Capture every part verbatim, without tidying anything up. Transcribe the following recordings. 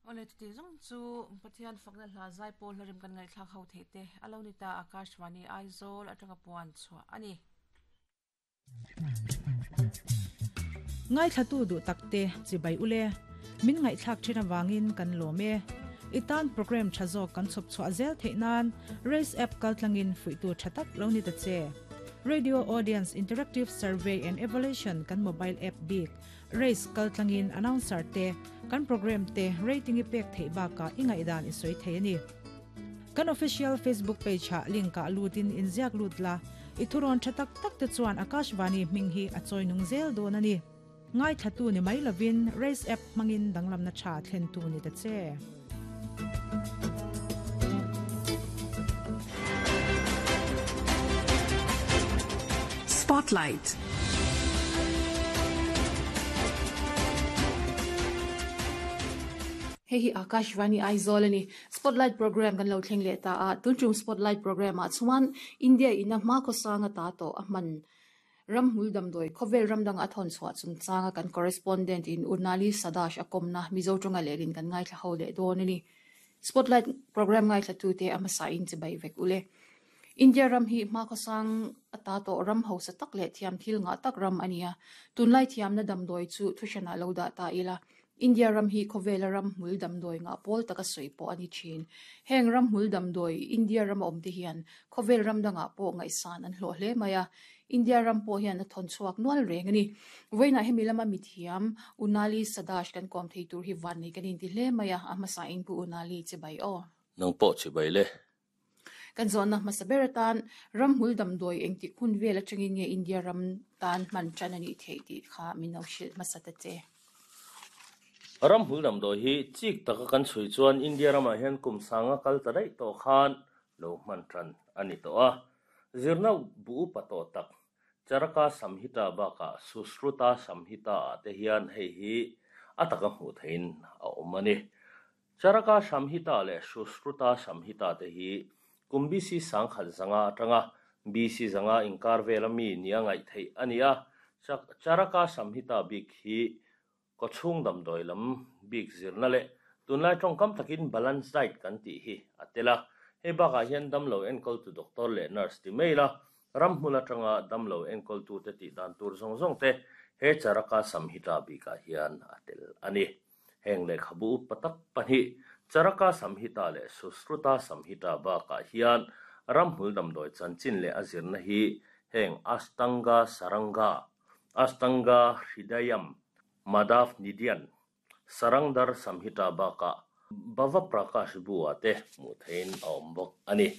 Ole ti zong chu Pathian fakna hla zai pawl hlarim kan ngai thlak ho the te alonita Akashvani Aizawl atanga puan chua ani. Ngai thlatu du takte chibai ule min ngai thlak thina wangin kan lome itan program thazo kan chop chwa zel theinan race app kaltlangin fuitu thatak lo ni ta che. Radio Audience Interactive Survey and Evaluation kan mobile app big race kaltlangin announcer te kan program te rating ipek thei ba ka ingai dan isoi thei ani. Kan official Facebook page ha link ka lutin inziak lutla ithuron thatak tak te chuan Akashvani minghi achoi nung zel don ani. Ngai thatu ni mai lovin race app mangin danglam na tha thlen tu ni ta che. Spotlight. Hei hi Akashvani Aizawl ani Spotlight program kan lo thleng le ta a tuntum Spotlight program a chuan India ina ma ko sanga ta to a man ramhmul damdoi khovel ramdang a thon chhuah chung changa kan correspondent in Unali Sadash akomna Mizo tonga lerin kan ngai thla ho le don ani Spotlight program ngai thla tu te ama sa in chibai vek ule. India ram hi ma ko sang ata to ram ho sa tak le thiam thil nga tak ram ania tunlai thiam na damdoi chu thushana lo da ta ila. India ram hi khowela ram hmul damdoi nga pol taka soi po ani chin heng ram hmul damdoi India ram om te hian khowel ram danga po ngai san an hlo hle maya. India ram po hian a thon chuak nual reng ani voina hemi lama mithiam Unali Sadash kan kom thei tur hi van ni kan in ti hle maya ama sa in pu Unali che bai o nang po che bai le kan zon na masaberatan ram hmul damdoi engti khun vela changin nge India ram tan man chan ani thei ti kha mino shil masata che. Ram hmul damdoi hi chik taka kan chui chuan India rama hian kum sanga kal ta dai to khan lo man tran ani to a zirna bu pato tak Charaka Samhita baka Sushruta Samhita te hian hei hi ataka hmu thein a awm ani. Charaka Samhita le Sushruta Samhita te hi kum B C sangkhat zanga atanga B C zanga inkar velami nia ngai thei ani a. Charaka Samhita bik hi ko chung damdoi lam bik zirna le tunlai tawngkam takin balance diet kan ti hi atela hei baka hian damlo enkawl tu doctor le nurse ti mai la ramhmul atanga damlo enkawl tu te ti dan tur zawng zawng te he Charaka Samhita bika hian atel ani. Heng le khabu patak pahnih Charaka Samhita le Sushruta Samhita baka hian ramhmul damdoi chanchin le azirna hi heng Ashtanga Saranga Ashtanga Hridayam Madhav Nidian Sarangdar Samhita baka Bhava Prakash Bua te mu thein a awm bawk ani.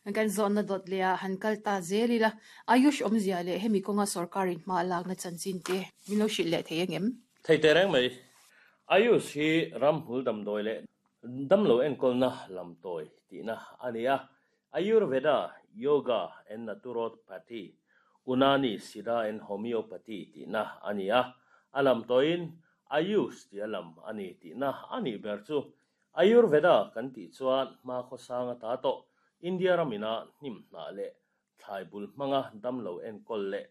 Kan zon na dot lea han kal ta zelila Ayush omzia le hemi konga sarkarin ma lak na chanchin te mino shil le thei ngem thei te reng mai. Ayush hi ramhmul damdoi le damlo enkawl na lamtoi tihna ani a. Ayurveda, Yoga and Naturopathy, Unani, Siddha and Homeopathy tihna ani a. A lamtoin Ayush ti a lam ani tihna ani ber chu. Ayurveda kan tih chuan hma khaw sanga ta to India ramina hnim hna le thlai bul hmanga damlo enkawl le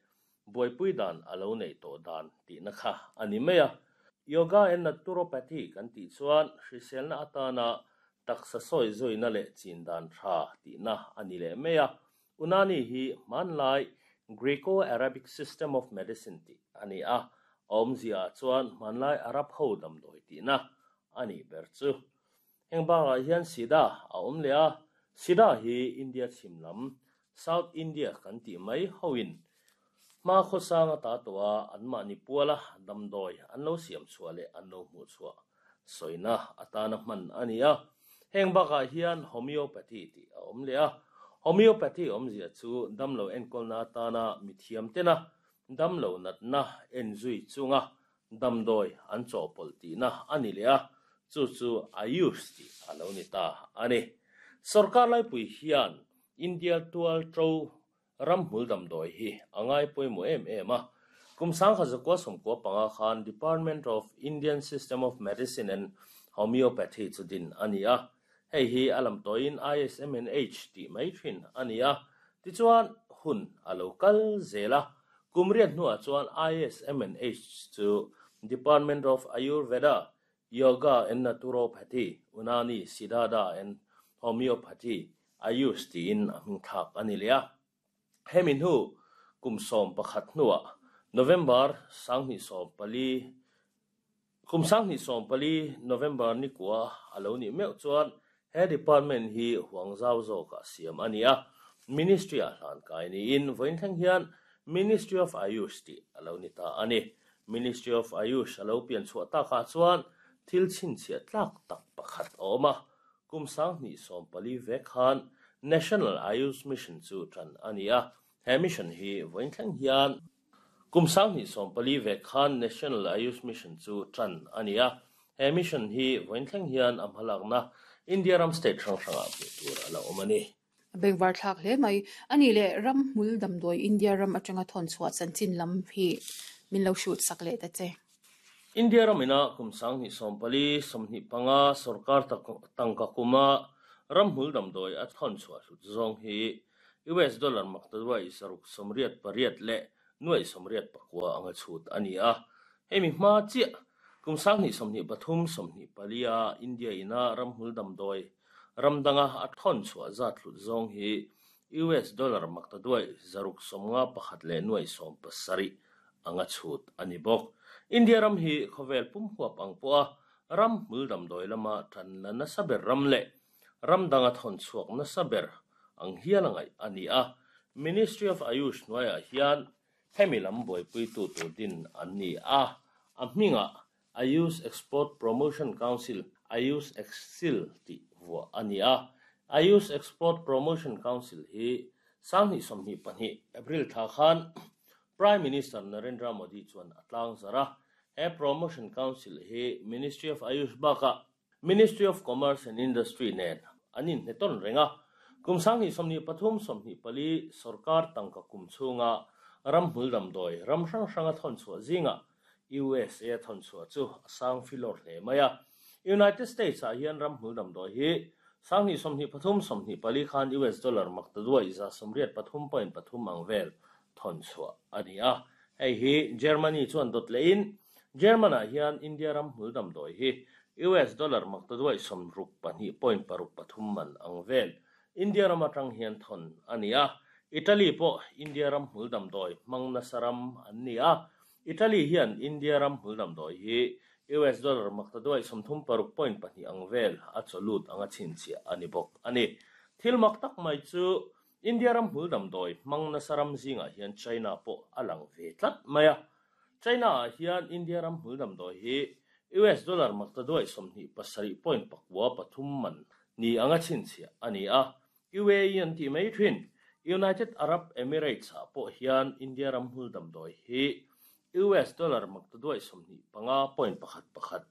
buaipui dan alo nei to dan tihna kha ani mai a. Yoga and Naturopathy kan tih chuan hriselna atana taksa sawi zawina le chin dan tha tihna ani le mai a. Unani hi hmanlai Greco-Arabic system of medicine tih ani a. Awmzia chuan hmanlai Arab ho damdawi tihna ani ber chu. Heng bakah hian Siddha a awm le a. Siddha hi India chhim lam South India kan tih mai hoin hma khaw sanga ta to a an mahni puala damdawi an lo siam chhuah leh an lo hmuh chhuah sawina atana hman ani a. Heng bakah hian homeopathy tih a awm le a. Homeopathy awmzia chu damlo enkawlna atana mithiam tena damlo natna en zui chunga damdawi an chawhpawlh tihna ani le a. Chu chu Ayush tih a lo ni ta ani. Sarkar laipui hian India tual to ramhmul damdawi hi angai pawimawh em em a. Kum sangkha zakua sawmkua panga khan Department of Indian System of Medicine and Homeopathy chu din ani a. Hei hi a lamtoin I S M N H tih mai thin ani a. Tichuan hun a lo kal zela kumriat hnuah chuan I S M N H chu Department of Ayurveda, Yoga and Naturopathy, Unani, Siddha and Homeopathy, Ayush ti in aming thak ani lea. Hemin hu kum som pakhat nuwa November sangni som pali kum sangni som pali November ni kwa alo ni meu chuan he department hi huangzau zo ka siam ania Ministry a hlan kai ni in voin thleng hian Ministry of Ayush ti alo ni ta ani. Ministry of Ayush alo pian chhuah ta kha chuan thil chin chhia tlak tak pakhat awma kum sangni som pali ve khan National Ayush Mission chu tran ania. He mission hi voin thleng hian kum sangni som pali ve khan National Ayush Mission chu tran ania. He mission hi voin thleng hian amhalak na India ram state hrang hranga pu tur ala awm ani. Bengvar thlak hle mai ani le ram hmul damdoi India ram atanga thon chhuah chanchin lam hi min lo shoot sak le ta che. India ramina kum sangni som pali somni panga sarkar tangka kuma ram hmul damdoi a thon chhuah hlut zawng hi U S dollar maktadwai saruk somriat pariat le nuai somriat pakwa anga chhut ani a. Hemi hma chi kum sangni somni pathum somni palia India ina ram hmul damdoi ramdanga a thon chhuah zat hlut zawng hi U S dollar maktadwai zaruk somnga pakhat le nuai som pasari anga chhut ani bawk. India ram hi khovel pum huap ang poa ram hmul damdoi lama than la nasa ber ram le ramdanga thon chhuak nasa ber ang hialangai ani a. Ministry of Ayush noya hian hemi lam buaipui tu tur din an ni a. A hminga Ayush Export Promotion Council Ayush Exil ti vua ani a. Ayush Export Promotion Council hi sangni somni pahnih April tha khan Prime Minister Narendra Modi chuan atlang zara. He Promotion Council hi Ministry of Ayush baka Ministry of Commerce and Industry nen anin heton renga kum sangni somni pathum somni pali sarkar tangka kum chunga ram hmul damdoi ram hrang hranga thon chhuah zinga U S A thon chhuah chu sang filor hle maya. United States a hian ram hmul damdoi hi sangni somni pathum somni pali khan U S dollar maktadwai za somriat pathum point pathum ang vel thon chhuah ani a. Hei hi Germany chuan dot le in German a hian India ram hmul damdoi hi U S dollar maktadwai somruk pahnih point paruk pathum man ang vel India ram atang hian thon ani a. Italy po India ram hmul damdoi mangna saram an ni a. Italy hian India ram hmul damdoi hi U S dollar maktadwai somthum paruk point pahnih ang vel a cholut anga chinchia ani bawk ani. Thil mak tak mai chu India ram hmul damdoi mangna saram zinga hian China po alang ve tlat maya. China hian India ram hmul damdoi hi U S dollar maktadwai somhnih pasarih point pakua pathum man ni anga chinchia ani a. U A E an ti mai thin United Arab Emirates a po hian India ram hmul damdoi hi U S dollar maktadwai somhnih panga point pakhat pakhat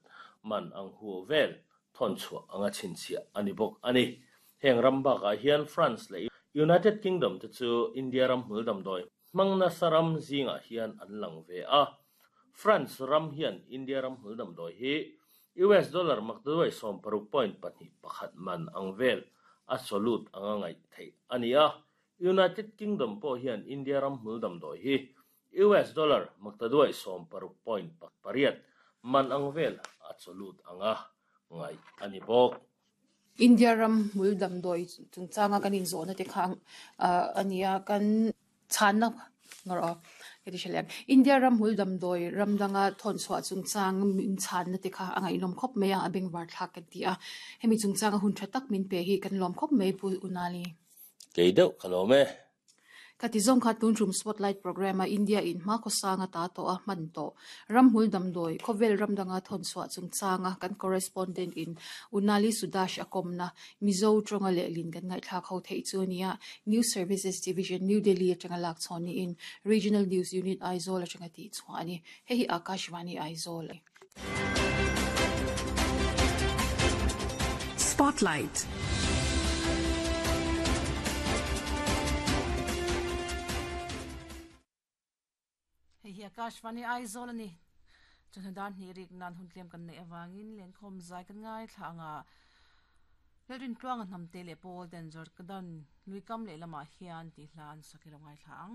man ang hu vel thon chhuah anga chinchia ani bawk ani. Heng ram bakah hian France le United Kingdom te chu India ram hmul damdoi mangna saram zinga hian an lang ve a. France ram hian India ram hmul damdoi hi U S dollar maktadwai som paruk point pahnih pakhat man ang vel a solut anga ngai thei ani a. United Kingdom po hian India ram hmul damdoi hi U S dollar maktadwai som paruk point pariat man ang vel a solut anga ngai ani bawk. India ram hmul damdoi chungchanga kan in zawhna te kha ania kan chhanna ngaro keti shalem India ram hmul damdoi ramdanga thon chhuah chungchang min chhanna te kha anga inom khop mai a bengvar thlak kan ti a. Hemi chungchanga hun tha tak min pe hi kan lom khop mai pu unali kei deuh khalome. Khati zawng kha tun tum spotlight program a India in hma khawsanga ta to a hman to ram hmul damdoi khawvel ramdanga thon chhuah chungchanga kan correspondent in Unali Sudash akomna Mizo tonga le lin kan ngai thlak ho thei chu nia News Services Division New Delhi atanga lak chhawni in Regional News Unit Aizawl atanga ti chhuani hei hi Akashvani Aizawl. Spotlight. Hei Akashvani Aizawl ani chundan ni rik nan hun tlem kan nei awangin len khom zai kan ngai thla anga lerin tluang nam te le pol den jor kadan luikam le lama hian ti hlan sakilo ngai thla ang.